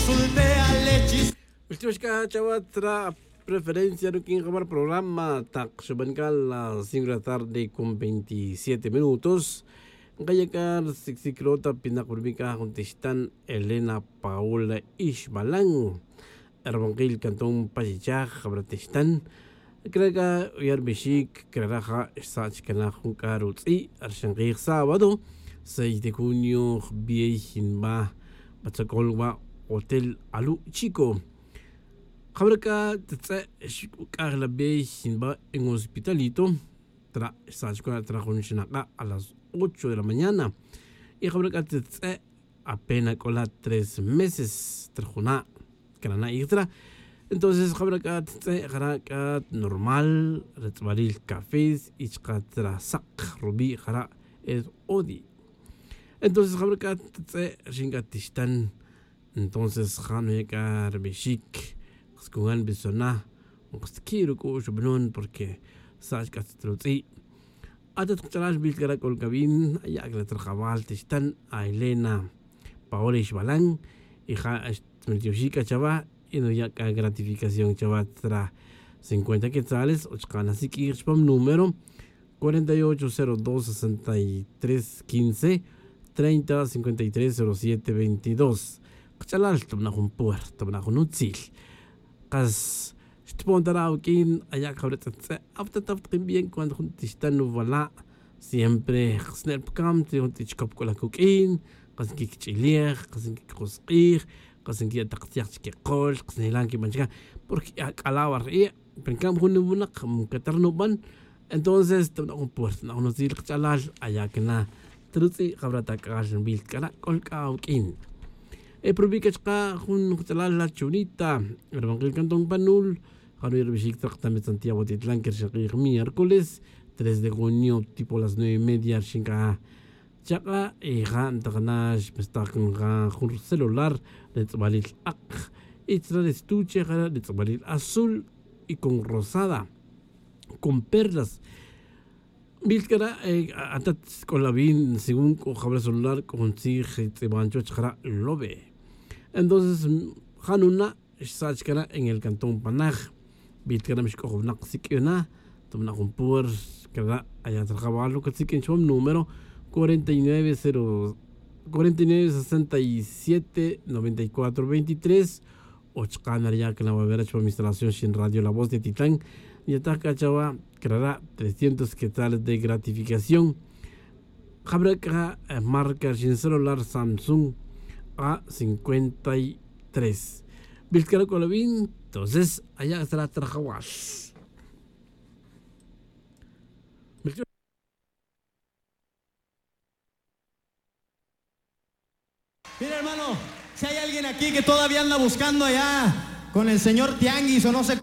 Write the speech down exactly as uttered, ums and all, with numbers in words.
Ultima xc'a chawa tra preferencia ruq'uin jawar programa tak xuban c'a las cinco de la tarde con veintisiete minutos. Nkaya' c'a rsicsiclo ta pinak pa rubi' c'a jun tixtan Elena Paola Ixbalan, erbankil cantón pa chichaj jawar tixtan. Crare' c'a uya' rubixic crare' ja' xsach cana jun c'a rutz'i' rxankij sábado seis de junio jbiey nba pa tzocol wa' hotel alu' chico. Jaware' c'a tz'e' xc'aj la bey nba en hospitalito. Tra' xsach cua' tra jun xnak'a' a las ocho de la mañana. Y jaware' c'a tz'e' apena c'o la tres meses trajuna' cana na'ij tra. Entonces jaware' c'a tz'e' jara' c'a normal re tz'balil cafés y chka' tra sak rubi' jara' es odi. Entonces jaware' c'a tz'e' rxin c'a tixtan. Entonces ja' nuya' c'a rubixic, kas cugan bisona, kas qui' ruc'u' xubanon porque sach c'a tz'e' rutz'i'. Atat kach'alal bil c'a ra' c'ol c'a bin aya' c'a la trajawal tixtan a Elena Paola Ixbalan. Y ja' xtmeltioxi' c'a chawa y nuya' c'a gratificación chawa tra cincuenta quetzales o chka' nasiq'uij chupam número cuarenta y ocho cero dos sesenta y tres quince treinta cincuenta y tres cero siete veintidós. Kach'alal tabana' jun puerta tabana' jun utzil. Kas xtpon ta ra' awuq'uin aya' c'a jaware' tz'e' tz'e' awta ta awtakin bien cuando jun tixtan nuwala'. Siempre kasne' pa cam tz'i jun tz'i' chicop c'o la cuq'uin. Kas nquiquich'ilej, kas nquicosk'ij, kas nquiya' tak tz'yaj chiquikol, kas nilan quiban chica. Porque ac'ala' wa ri'. Pero ncab jun winak mcatar nuban. Entonces tabana' jun puerta tabana' jun utzil kach'alal aya' cana ta rutz'i' jaware' ta c'al nbil c'a ra' c'ol c'a awuq'uin. E pa rubi' c'a chka' jun kach'alal la chunita rubankil cantón panul. Ja' nuya' rubixic trak ta metzantiya' watitlan que rxak'ij miércoles tres de junio tipo las nueve y media rxin c'a chak'a' y ja' ntak na xmestak nka jun celular re tz'balil ak'. Y tzra re estuche jare' re tz'balil azul y con rosada con perlas. Bil c'a ra' atat c'o la bin según c'o jaware' celular c'o jun tzij tz'iban chuwech jara' lobe. Entonces ja' nuna' xsach c'a ra' en el cantón panaj. Bil c'a ra' mixc'oj winak siq'uina tabana' jun puerta c'a ra' aya' trajawal uca tsiq'uin chupam número cuarenta y nueve cero cuarenta y nueve sesenta y siete noventa y cuatro veintitrés. O chka' nariya' c'a na wawera chupam instalación xin radio la voz de titlan. Yataj c'a chawa c'a ra' trescientos quetzales de gratificación. Jaware' c'a marca xin celular samsung a cincuenta y tres. Bil c'a ra' c'o la bin. Entonces aya' c'a ra' trajawal. Mira, hermano, si hay alguien aquí que todavía anda buscando allá con el señor Tianguis o no sé.